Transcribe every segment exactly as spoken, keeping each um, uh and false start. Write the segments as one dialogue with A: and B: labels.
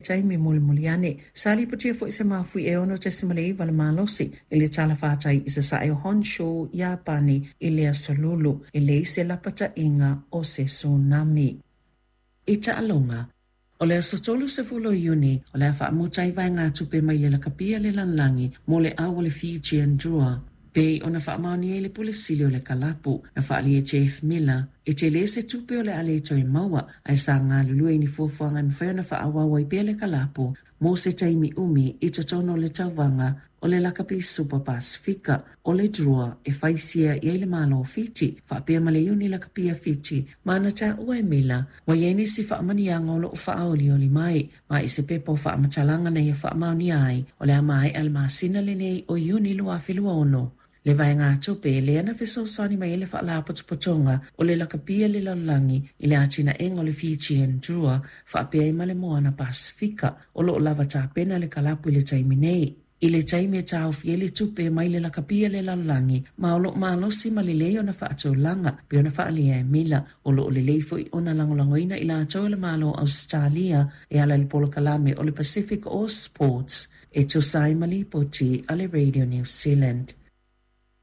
A: Taimi molimoli ane. Sa lipotia foi se mafui e ono tesimale iwa le malosi i le talafatai i sasae o Honshu, Iapani i le aso Lulu, e leai se lapataiga o se tsunami. I taaloga. O le aso tolu sefulu o Iuni, o le a faamuta ai vaegatupe mai le lakapia le lalolagi mo le au o le Fijian Drua. Pei ona faamaonia e le Pule Sili o le Kalapu, na faaalia e Jeff Miller, e tele se tupe o le a le toe maua, ae sa galulue i ni fuafuaga e mafai ona faaauau ai pea le kalapu mo se taimi umi i totonu o le tauvaga o le Lakapi Supa Pasifika. O le Drua e faisia i ai le Malo o Fiti, faapea ma le Iuni Lakapia Fiti, ma na taua e Miller, ua i ai nisi faamanuiaga o loo faaolioli mai, ma i se pepa o faamatalaga na ia faamaonia ai, o le a maea le masina lenei o Iuni lua afe lua ono. Le vaegatupe lea na fesoasoani mai ai le Faalapotopotoga o le Lakapia le Lalolagi i le atinaega o le Fijian Drua faapea ai ma le Moana Pasifika. O loo lava tapena le kalapu i le taimi nei. I le taimi e taofi ai le tupe mai le lakapia le lalolagi, ma o loo malosi ma lelei ona faatulaga pe ona faaalia e Mila. O loo lelei foi ona lagolagoina i latou e le Malo o Ausetalia e ala i le polokalame o le Pacific All Sports e tusa ai ma lipoti a le Radio New Zealand.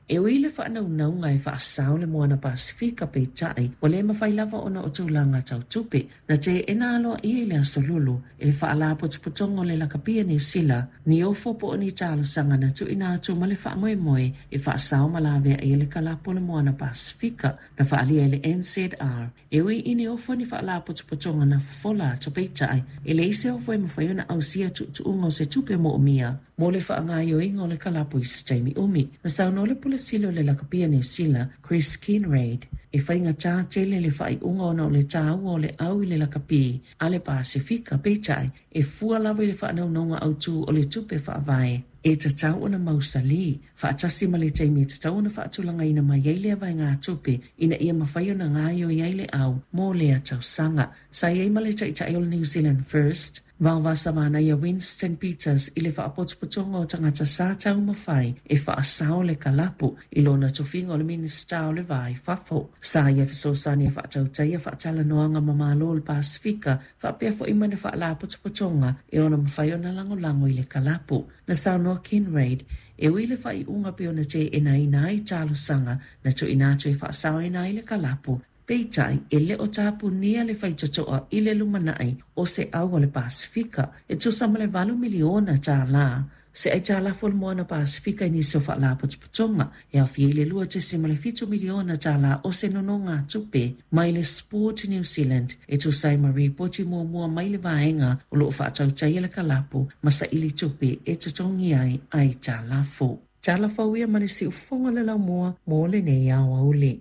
A: E ui i le faanaunauga e faasao le Moana Pasifika, peitai ua le mafai lava ona o tulaga tau tupe. Na teena aloaia i le aso Lulu e le Faalapotopotoga o le Lakapia Niu Sila ni ofo po o ni talosaga na tuuina atu ma le faamoemoe e faasao ma laveai ai le kalapu o le Moana Pasifika. Na faaalia e le N Z R e ui i ni ofo ni faalapotopotoga na fofola atu, peitai e leai se ofo e mafai ona ausia tuutuuga o se tupe moomia mo le faagaoioiga o le kalapu i se taimi umi. Na saunoa le Pule Sili o le Lakapia Niu Sila, Chris Kinraid, e faigata tele le faaiuga ona o le taua o le au i le lakapi a le Pasifika, peitai e fua lava i le faanaunauga autū o le tupe faavae e tatau ona mausali, faatasi ma le taimi e tatau ona faatulagaina mai ai lea vaegatupe ina ia mafai ona gaoioi ai le au mo lea tausaga. Sa i ai ma le taitai o le New Zealand First, Vaovasa Manaia Winston Peters i le faapotopotoga o tagata sa taumafai e faasao le kalapu i lona tofiga o le Minista o le Va i Fafo. Sa ia fesoasoani e faatautaia faatalanoaga ma Malo o le Pasifika faapea foi ma ni faalapotopotoga e ona mafai ona lagolago i le kalapu. Na saunoa Kinraid e ui le faaiuga pe ona teenaina ai talosaga na tuuina atu e faasaoina ai le kalapu, peitai e le o tapunia le faitotoa i le lumanai o se au o le Pasifika e tusa ma le valu miliona tālā. Se aitalafu o le Moana Pasifika i nisi o faalapotopotoga e aofia i le lua tesima le fitu miliona tālā o se nonogatupe mai le Sport New Zealand e tusa ai ma ripoti muamua mai le vaega o loo faatautaia le kalapu ma saili tupe e totogi ai aitalafu. Tala fau ia ma le siufoga le laumua mo lenei aoauli.